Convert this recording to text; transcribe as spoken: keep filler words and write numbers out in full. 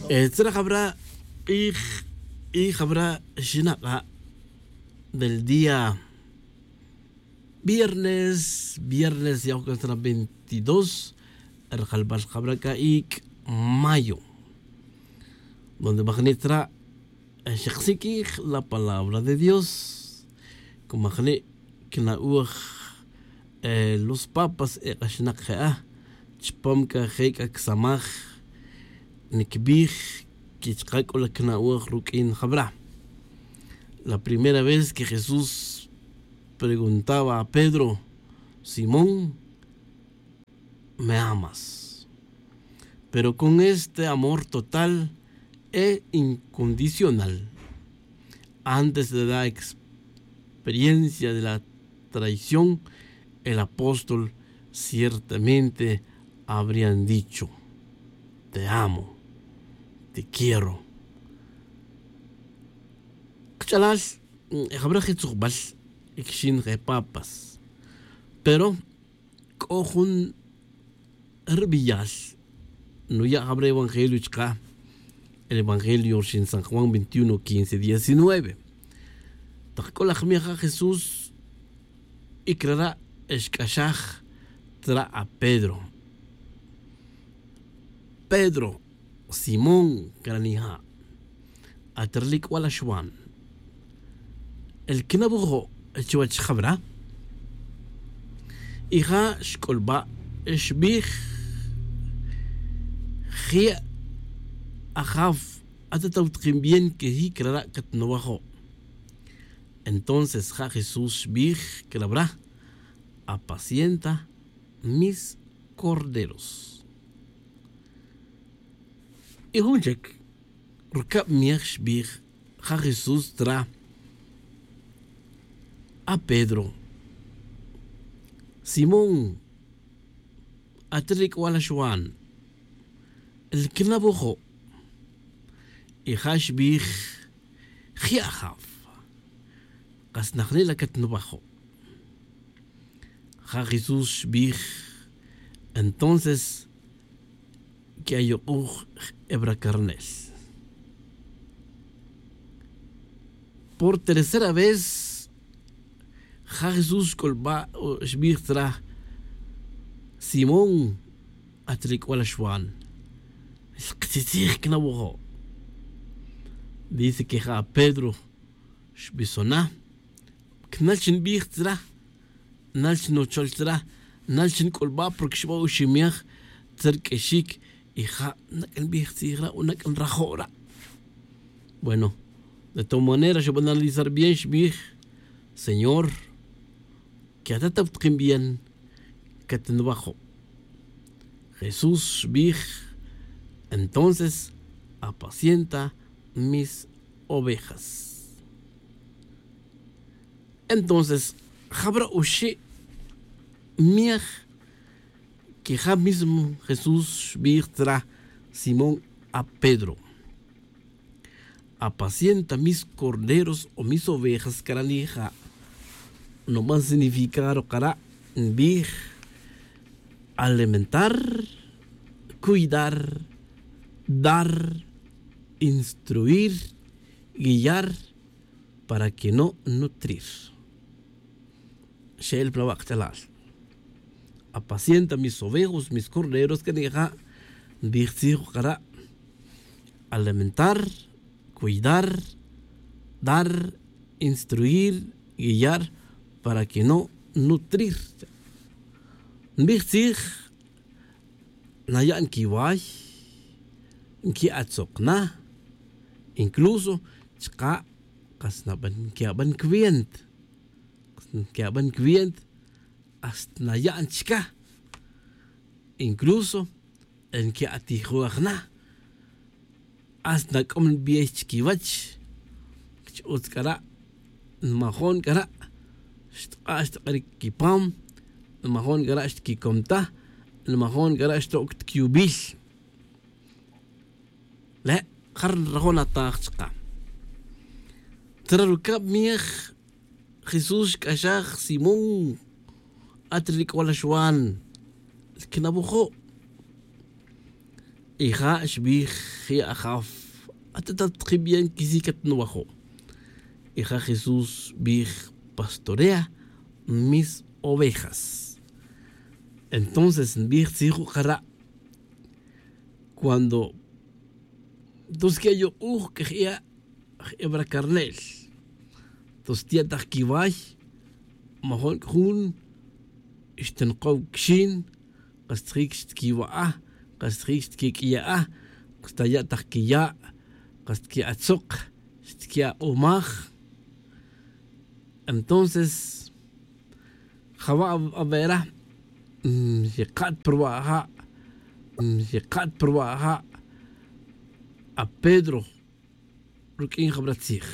Eh, tzra jabra' q'ij, q'ij jabra' xinak'a' del día viernes, ya oj kan tzra veintidós, rajalbal jabra' c'a ic' mayo, donde majni' tzra xaksik'ij la palabra de Dios. Como ajni' quina'oj, eh, los papas ek'axnak je'a chupam c'a je c'a csamaj niquibij que chka c'o la quina'oj ruq'uin jabra'. La primera vez que Jesús preguntaba a Pedro: "Simón, ¿me amas?". Pero con este amor total e incondicional, antes de la experiencia de la traición, el apóstol ciertamente habrían dicho: "Te amo, te quiero". Kach'alal, mm, jabra' je tzujbal, y quixin je papas. Pero c'o jun rbeyal nuya' jabra' evangelio chka, el evangelio rixin San Juan veintiuno, quince, diecinueve. Tak c'o la jmij ja Jesús, y crara' xc'axaj tzra' a Pedro: "Pedro, Simón, cranija', at rlic'bal axwan, el quinawojo' chuwech jabra?". Y ja xc'ulba' xbij: "Jye' Ajaf, at atawtkin bien que jicrara' catnuwajo'". Entonces ja Jesús xbij crabra: "Apacienta mis corderos". Y jun chic rucab miej xbij ja Jesús tzra: "A Pedro, Simón, at rlic'bal axwan, el quinawojo'". Y ja xbij: "Jye' Ajaf, kas najni' la catnuwajo'". Ja Jesús xbij: "Entonces que ayuk'uj jebra carnel". Por tercera vez ja Jesús xc'ulba' o xbij tzra: "Simón, at rlic'bal axwan, el ktzitzij cnawojo'". Dice que ja Pedro xbisona: "Cnal chi nbij tzra, nal chi nuchol tzra, nal chi nc'ulba'", porque xba' oximej tzerq'uexic. Y ja nac' nbij tzij ra' o nac' nrajo' ra'. Bueno, de todas maneras xba' analizar bien, xbij: "Señor, que at atawtkin bien catnwajo'". Jesús xbij: "Entonces apacienta mis ovejas". Entonces jabra' oxi' miej que ja mismo Jesús xbij tzra Simón a Pedro: "Apacienta mis corderos o mis ovejas", caranija'. Nuban significar kara' nbij: alimentar, cuidar, dar, instruir, guiar para que no nutrir. Xe'el pa la wa' kach'alal: "Apacienta mis ovejos, mis corderos", caranija'. Nbij tzij kara': alimentar, cuidar, dar, instruir, guiar para que no nutrir. Nbij tzij: naya' nquiway, nqui'atzok na, incluso chka' kas naban nquiaban cuenta, nquiaban cuenta hasta naya'n chca. Incluso nqui'atijoj na, hasta nac'om nbey chiquiwech. Ch-utz c'a ra' nmajon c'a ra' xtk'a' xtk'iric quipam, nmajon c'a ra' xtquicom ta, nmajon c'a ra' xtoc' ta cuyubil. Le' ja ri nrajo' nataj chka. Tzra rucab miej Jesús xc'axaj: "Simón, at ri lic'bal axwan, quinawojo'". Y ja' xbij je' ajaf, atetat ki bien quisic catnuwajo'. Y ja' jesús xbij, pastorea mis ovejas. Entonces nbij tzij juk'ara', cuando tos que ayu'uj que je'a' jebra carne'l. Tos tiya' tak quiway, majon c'jun xtinkow quixin, kas tjic xtquiwa'a, kas tjic xtquiq'uiya'a, kas taya' tak quiya', kas tqui'atzok, xtqui'abomaj. Entonces java' avera, xekat pa ruwa' aja', xekat pa ruwa' aja'. Apedro ruq'uin jabra tzij.